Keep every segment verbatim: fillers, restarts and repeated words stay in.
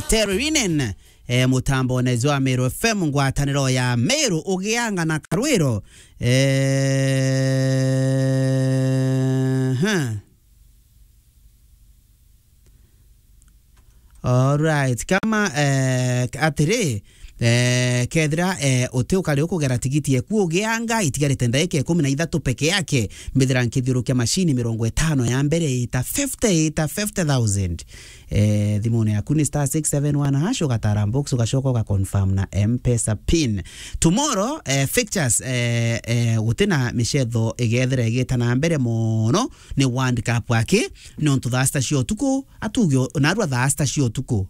Terry Rinen, eh, mutambone jwa Meru F M, ngwataniro ya Meru, Ugianga na Karwiro. Eh, huh. Alright, kama, eh, atiri, eh, kethira, eh, uti ukari ukugera tigiti eku Ugianga, itigarite ndaika ikumi na ithatu peke yake, mbithira nkithiurukia mashini mirongo itano ya mbere ita fifty, ita fifty thousand. Eh, thimune yaku ni star six seven one hash, ugatara box, ugacoka uga confirm na M-Pesa pin. Tomorrow, eh, fixtures, eh, eh, gutina micetho igethira igita na mbere mono, ni World Cup aki, nontu thaa sita cia utuku, atuge o-, narua thaa sita cia utuku.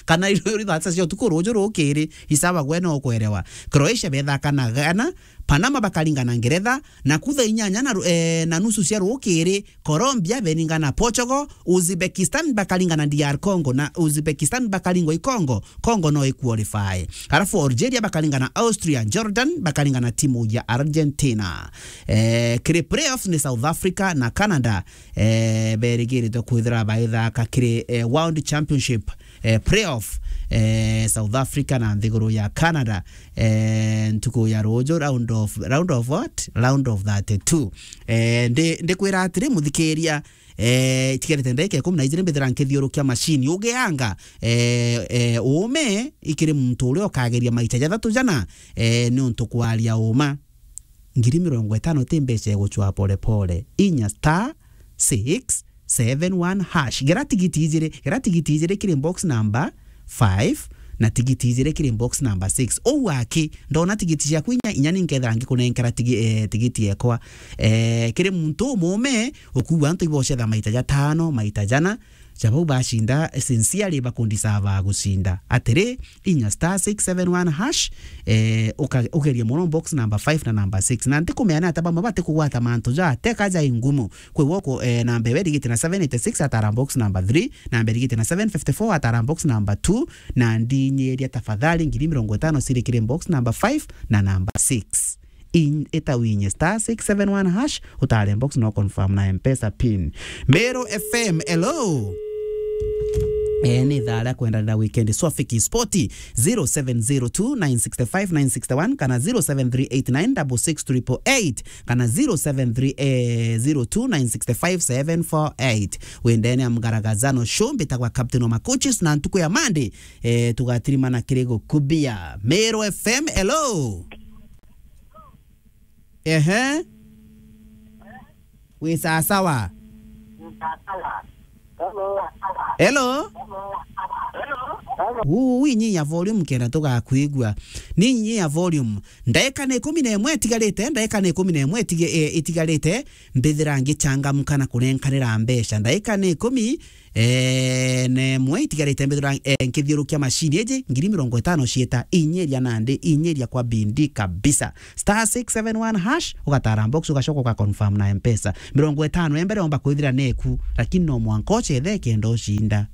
Kana iri thaa sita cia utuku, ruju rukiri, isaba gwe no ukwerewa. Croatia bethaka na Ghana, Panama bakaringana Ngeretha, na ku thaa inyanya na ru-, eh, na nusu cia rukiri, Colombia beringana Portugal, Uzbekistan bakaringana D R Congo, na Uzbekistan bakaringwa i Congo, Congo no iqualify. Alafu Algeria bakaringana Austria, Jordan bakaringana timu ya Argentina. Eh, kiri playoffs ni South Africa na Canada, eh, berigiritwe kwithira baithaka kiri, eh, World Championship, eh, playoff, eh, South Africa na nthiguru ya Canada, eh, ntuku ya ruju, round of, round of what? Round of thirty-two. Eh, ndi, ndikwira atiri, muthikiria, eh, itigarite ndaika ikumi na ijiri mbithira nkithiurukia mashini Ugianga, eh, eh, uume ikiri muntu uria ukageria maita jathatu jana, eh, niuntu kwaria uuma. Ngiri mirongo itano ti mbeca igucwa pole pole. Inya star six seven one hash. Gera tigiti ijiri, gera tigiti ijiri kiri box number five na tigiti ijiri kiri box number six. Ou aki, ndona tigiti ciaku inya, inya ni nkethira ngikunenkera tigi-, eh, tigiti ekwa. Eh, kiri muntu umume, ukuua antu ibocetha maita jatano, maita jana, ja bau bacinda, sincerely bakundisava gucinda. Atiri, inya star six seven one hash, eh, uka-, ugerie mono box number five na number six. Na ntikumenya ni ata bamwe batikugwata mantu ja teka ja ingumu. Kwi woko, eh, namba iwe irigite na seven eighty six atara box number three, namba irigite na seven fifty four atara box number two, na ndinyiria tafadhali ngiri mirongo itano ciri kiri box number five na number six. In-, ita winye star six seven one hash, utare box no confirm na M-Pesa pin. Meru F M, hello. Eh, ni thaa ria kwendanira weekend. Swafiki Spoti, zero seven zero two nine six five nine six one kana zero seven three eight nine six six triple eight kana zero seven three, eh, zero two nine six five seven four eight. Wendene ya mgaragazano show, mbitagwa Captain wa Macoaches, na ntuku ya Monday, eh, tugatirimana kiri gukubia. Meru F M, hello. Ehe. Wi sasawa. Hello. Uu, inyinya volume kenda tugakwigua. Ni inyinya volume. Ndaika ni ikumi na imwe itigarite, ndaika ni ikumi na imwe itige-, eh, itigarite, mbithira ngichangamka na kunenkanira mbeca. Ndaika ni ikumi, eh, na imwe itigarite mbithira, eh, nkithiurukia mashini iji, ngiri mirongo itano ciita, inyiria nandi, inyiria kwa bindi kabisa. Star six seven one hash, ugatara box, ugacoka uga confirm na M-Pesa. Mirongo itano ya mbere omba kwithira neku, lakini no mwanka ucethe kenda ucinda.